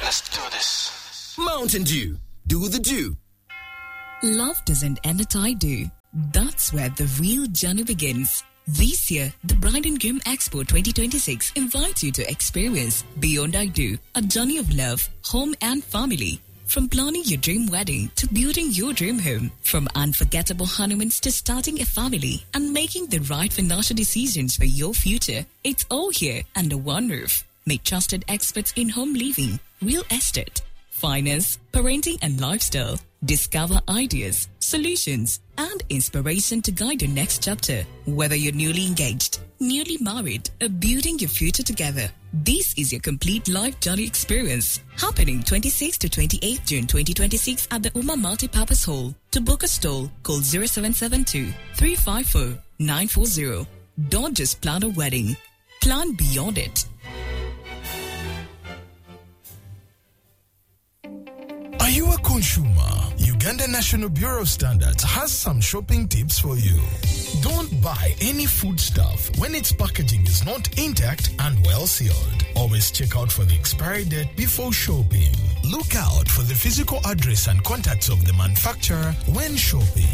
Let's do this. Mountain Dew. Do the dew. Love doesn't end at I do. That's where the real journey begins. This year, the Bride and Groom Expo 2026 invites you to experience Beyond I Do, a journey of love, home and family. From planning your dream wedding to building your dream home, from unforgettable honeymoons to starting a family and making the right financial decisions for your future, it's all here under one roof. Meet trusted experts in home living, real estate, finance, parenting, and lifestyle. Discover ideas, solutions, and inspiration to guide your next chapter. Whether you're newly engaged, newly married, or building your future together, this is your complete life journey experience. Happening 26 to 28 June 2026 at the Uma Multipurpose Hall. To book a stall, call 0772 354 940. Don't just plan a wedding, plan beyond it. Are you a consumer? Uganda National Bureau of Standards has some shopping tips for you. Don't buy any foodstuff when its packaging is not intact and well sealed. Always check out for the expiry date before shopping. Look out for the physical address and contacts of the manufacturer when shopping.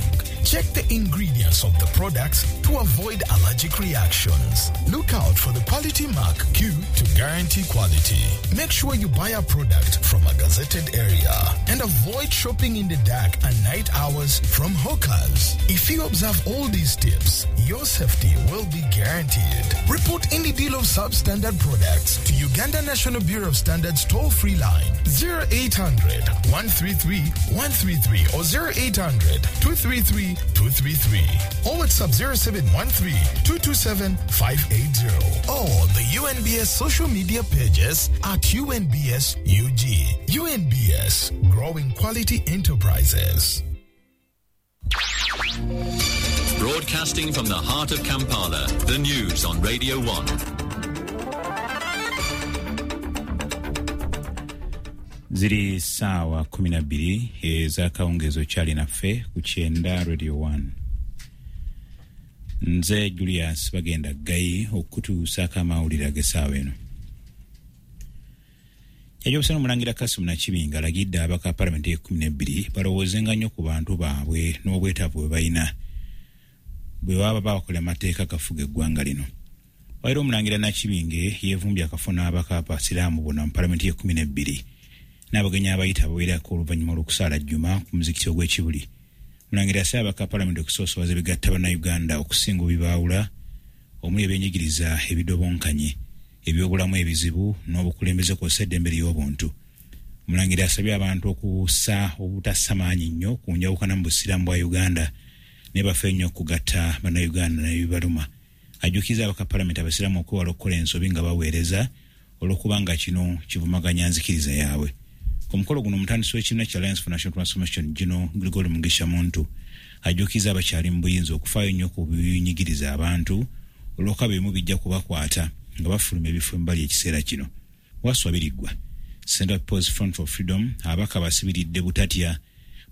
Check the ingredients of the products to avoid allergic reactions. Look out for the quality mark Q to guarantee quality. Make sure you buy a product from a gazetted area and avoid shopping in the dark and night hours from hawkers. If you observe all these tips, your safety will be guaranteed. Report any deal of substandard products to Uganda National Bureau of Standards toll-free line 0800 133 133 or 0800 233 233 or WhatsApp 0713 227 580 or the UNBS social media pages at UNBS UG. UNBS, growing quality enterprises. Broadcasting from the heart of Kampala, the news on Radio 1. Ziri saawa 12 ez'akawungeezi okyali naffe ku kyenda Radio 1. Nze Julius Bagenda Gayi okutuusaako amawulire ag'essaawa eno. Jjajja Omulangira Kasimu Nakibinga alagidde abaka palamenti y'e12 balowoozenga nnyo ku bantu baabwe n'obwetaavu bwe balina bwe baba bakola amateeka gafuga eggwanga lino. Waira Omulangira Nakibinge yeevumbye akafo n'abaka abasiraamu bonna mu palamenti y'e12 n'abagenyi abayita abawerako oluvannyuma lw'okusaala Jjuma ku muzikiti ogw'Ekibuli. Mulangira asaba abaka palamenti okusoosowaza ebigatta bannayuganda okusinga obibaawula omuli ebyenjigiriza ebidobonkanye, ebyobulamu ebizibu n'obukulembeze kw'ossa eddembe ly'obuntu. Mulangira asabye abantu okussa obutassa maanyi nnyo ku njawukana mu busiraamu bwa Uganda naye bafe nnyo okugatta bannayuganda n'ebibaluma. Ajjukiza abaka palamenti abasiraamu okwewala okukola ensobi nga baweereza olw'okubanga kino kivumaganya nzikiriza yaabwe. Ku mukolo guno omutandisi w'ekibiina kya Alliance for National Transformation Gino Gregory Mugisha Muntu ajjukiza abakyali mu buyinza okufaayo nnyo ku binyigiriza abantu olw'okuba ebimu bijja kubakwata nga bafuluma ebifo embali ekiseera kino. Waswa Biriggwa, Center People's Front for Freedom, abaka basibiridde butatya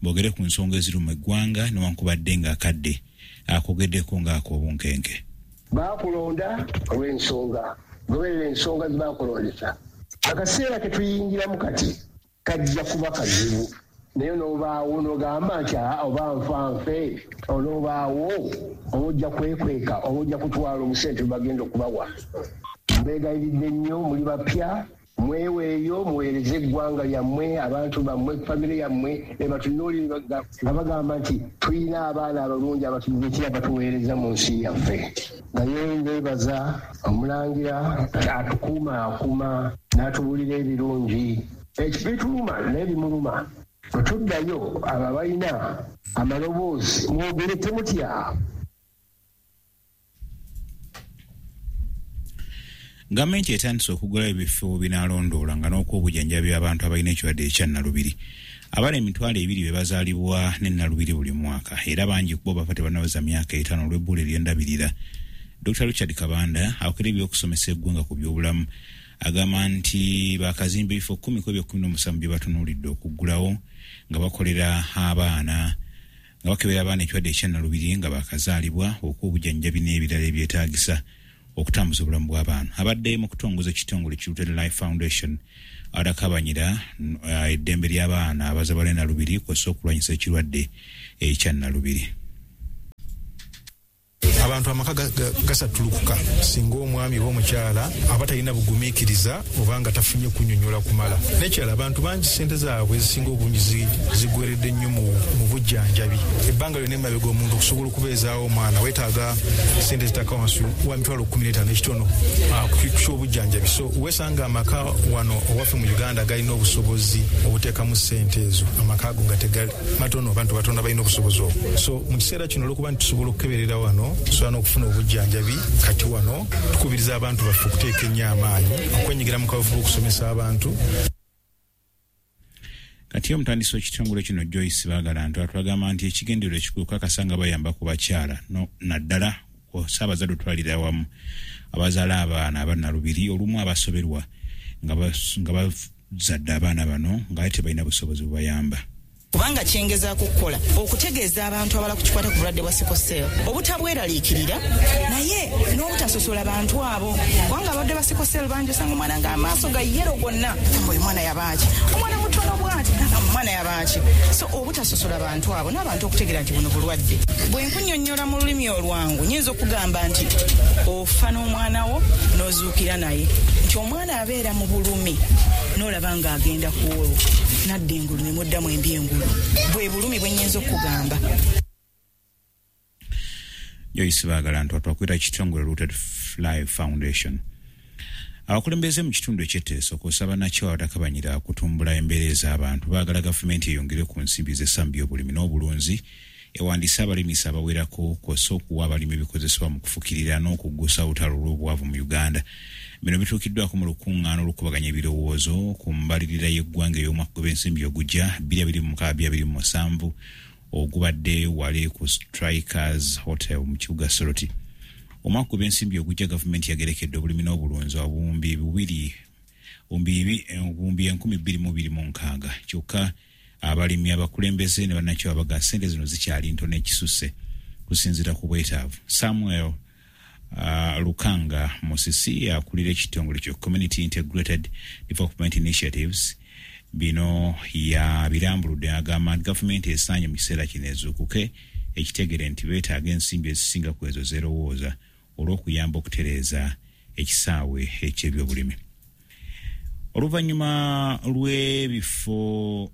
boogere ku nsonga eziruma eggwanga newankubadde ng'akadde akogeddeko ng'ak'obunkenke. Baakulonda olw'ensonga, goberera ensonga ze baakulondesa. Akaseera ke tuyingiramu kati kajja kuba kazibu, naye n'obaawo n'ogamba nti oba nfa nfe, onoobaawo oba ojja kwekweka oba ojja kutwala obusente bwe bagenda okubawa. Mbeegayiridde nnyo, muli bapya, mweweeyo muweereze eggwanga lyammwe, abantu bammwe, famire yammwe ebatunuulire nga bagamba nti tulina abaana abalungi abatujjukira batuweereza mu nsi yaffe. Naye nbeebaza Omulangira atukuuma akuuma n'atubuulira ebirungi. Ekibituluma naye bimuluma. Bwe tuddayo abo abalina amaloboozi mwogere temutya. Gavumenti etandise okugulawo ebifo binaalondoola nga n'okw'obujanjabi abantu abalina ekirwadde ekya Nalubiri. Abaana 20,000 be bazaalibwa ne Nalubiri buli mwaka era bangi ku bo bafa tebannaweza myaka 5 olw'ebbula ery'endabirira. Dr. Richard Kabanda akolera ebyokusomesa eggwanga ku byobulamu agamba nti bakazimba ebifo 10 ku ebyo 17 bye batunuulidde okuggulawo nga bakolera abaana nga bakebera abaana ekirwadde ekya Nalubiri nga bakazaalibwa, okw'obujanjabi n'ebirala ebyetaagisa. okutambuza obulamu bw'abaana. Abadde mu kutongoza ekitongole ki Rooted Life Foundation atakabanyira eddembe ly'abaana abazabala Nalubiri kw'ossa okulwanyisa ekirwadde ekya Nalubiri. Abantu amaka gasatulukuka singa omwami oba omukyala aba talina bugumiikiriza oba nga tafunye kunnyonnyola kumala. N'ekirala, abantu bangi ssente zaabwe ezisinga obungi zigweredde nnyo mu bujjanjabi. Ebbanga lyonna emabega omuntu okusobola okubeezaawo omwana weetaaga ssente zitaka wansi wa 15,000 ekitono ku ky'obujjanjabi. So weesanga amaka wano owaffe mu Uganda galina obusobozi obuteekamu ssente ezo, amaka ago nga tegali matono, abantu batono balina obusobozi obwo. So mu kiseera kino olw'okuba nti tusobola okukeberera wano, tusobola n'okufuna obujjanjabi, kati wano tukubiriza abantu baffe okuteeka ennyo amaanyi okwenyigira mu kaweefube okusomesa abantu. Kati omutandisi w'ekitongole kino Joyce Baagalantu atwagamba nti ekigendererwa ekikulu kakasa nga bayamba ku bakyala naddala kw'ossa abazadde otwalira awamu abazaala abaana aba Nalubiri olumu abasoberwa nga bazadde abaana bano nga tebalina busobozi bubayamba. Kubanga kyengezaako okukola okutegeeza abantu abala ku kikwata ku bulwadde bwa sickle cell obutabweraliikirira naye n'obutasosola bantu abo, kubanga abalwadde ba sickle cell bangi osanga omwana ng'amaaso ga yero gonna, gamba oyo mwana yabaaki, omwana mutono bw'ati, gamba omwana yabaaki. So obutasosola bantu abo n'abantu okutegeera nti buno bulwadde. Bwe nkunnyonnyola mu lulimi olwangu nnyinza okugamba nti ofa n'omwana wo n'ozuukira naye, nti omwana abeera mu bulumi n'olaba ng'agenda ku olwo n'adda engulu ne muddamu embi engulu. Bwe bulumi bwe nnyinza okugamba. Joyce Baagalantu atwakwira kitongole Rooted Life Foundation. Abakulembeze mu kitundu eky'Etteeso kw'ossa bannakyewa abatakabanyira okutumbula embeera ez'abantu baagala gavumenti eyongere ku nsimbi z'essambu by'obulimi n'obulunzi, ewandiise abalimisa abawerako kw'ossa okuwa abalimi ebikozesebwa mu kufukirira n'okuggusa olutalo lw'obwavu mu Uganda. Bino bituukiddwako mu lukuŋŋaana olukubaganya ebirowoozo ku mbalirira y'eggwanga ey'omwaka gw'ensimbi ogujja 2026-2027 ogubadde wali ku Strikers Hotel mu kibuga Soroti. Omwaka gw'ensimbi ogujja gavumenti yagerekedde obulimi n'obulunzi obuwumbi 2,226, kyokka abalimi, abakulembeze ne bannakyewa baga ssente zino zikyali ntono ekisusse kusinziira ku bwetaavu. Samuel Lukanga Musisi akulira ekitongole kyo Community Integrated Development Initiatives bino yabirambuludde, agamba nti gavumenti esaanye mu kiseera kino ezuukuke ekitegere nti beetaaga ensimbi ezisinga ku ezo zerowooza olw'okuyamba okutereeza ekisaawe eky'ebyobulimi. Oluvannyuma lw'ebifo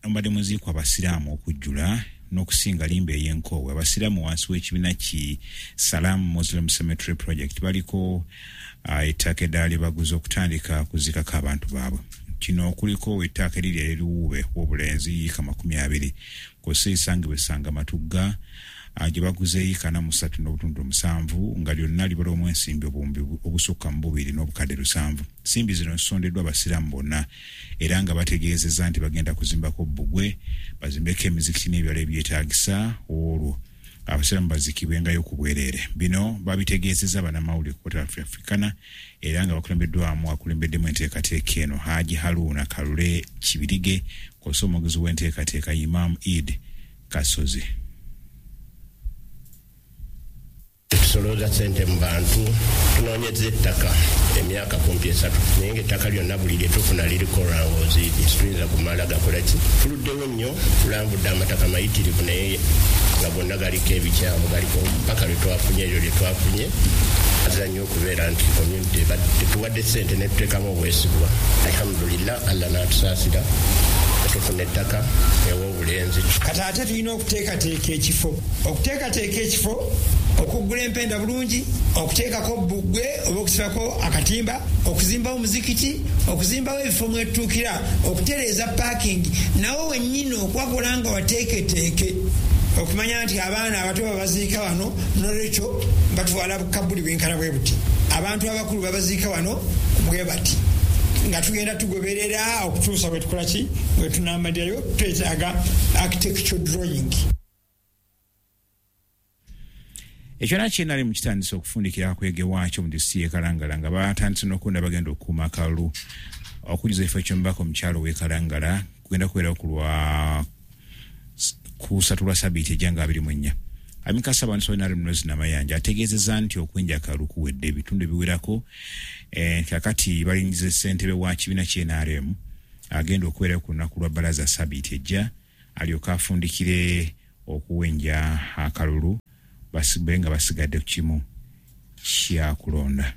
omubadde muziikwa abasiraamu okujjula n'okusinga limba ey'enkoowe, abasiraamu wansi w'ekibiina ki Salam Muslim Cemetery Project baliko ettaka eddala lye baguze okutandika kuziikako abantu baabwe. Kino kuliko ettaka eriri ery'eruwuube w'obulenzi yiika 20 kw'ossa esangibwa Essanga Matugga gye baguze yiika 43.7 nga lyonna libalwamu ensimbi obuwumbi obusukka mu 2,700. Nsimbi zino zisondeddwa abasiraamu bonna era nga bategeezezza nti bagenda kuzimbako bbugwe, bazimbeko emizikiti n'ebirala ebyetaagisa, olwo abasiraamu baziikibwengayo ku bwereere. Bino babitegeezezza bannamawulire ku Hotel Africana era nga bakulembeddwamu akulembeddemu enteekateeka eno Haji Haruna Kalule Kibirige kw'ossa omwogezi w'enteekateeka Imam Eid Kasozi. Tusolooza ssente mu bantu, tunoonyeza ettaka emyaka kumpi 3, naye ng'ettaka lyonna buli lye tufuna liriko lwangozi, tuyinza kumala gakola ki? Tuluddewo nnyo, tulambudde amataka mayitirivu naye nga gonna galiko ebikyamu, galiko paka lwe twafunye eryo lye twafunye. Aza nnyo okubeera nti community tetuwadde ssente ne tuteekamu obwesigwa. Alhamdulillah, Allah n'atusaasira tufuna ettaka ew'obulenzi. Kati ate tulina okuteekateeka ekifo, okuteekateeka ekifo, okugula empenda bulungi, okuteekako bbugwe oba okusibako akatimba, okuzimbawo omuzikiti, okuzimbawo ebifo mwetutuukira, okutereeza parking, nawo wennyini okwakola nga wateeketeeke, okumanya nti abaana abato babaziika wano, nolwekyo batwala bukabuli bwenkana bwe buti, abantu abakulu babaziika wano bwe bati, nga tugenda tugoberera okutuusa bwe tukola ki, bwe tunamalirayo. Twetaaga architecture drawing. Ekyona kyenali mu kitandise okufundikira akwege waakyo mu disitulikiti y'e Kalangala nga batandise n'okulonda bagenda okukuuma akalulu. Okujuza ekifo ky'omubaka omukyalo w'e Kalangala kugenda kubeerawo ku lwa kusatu lwa sabiiti ejja nga 24. Amyuka Ssaabawandiisi wa NRM Rose Namayanja ategeezezza nti okwenja akalulu kuwedde ebitundu ebiwerako, kakati balingiza ssentebe wa kibiina kye NRM agenda okubeerayo ku lunaku lwa bbalaza sabiiti ejja alyoke afundikire okuwenja akalulu, basibe nga basigadde ku kimu kyakulonda.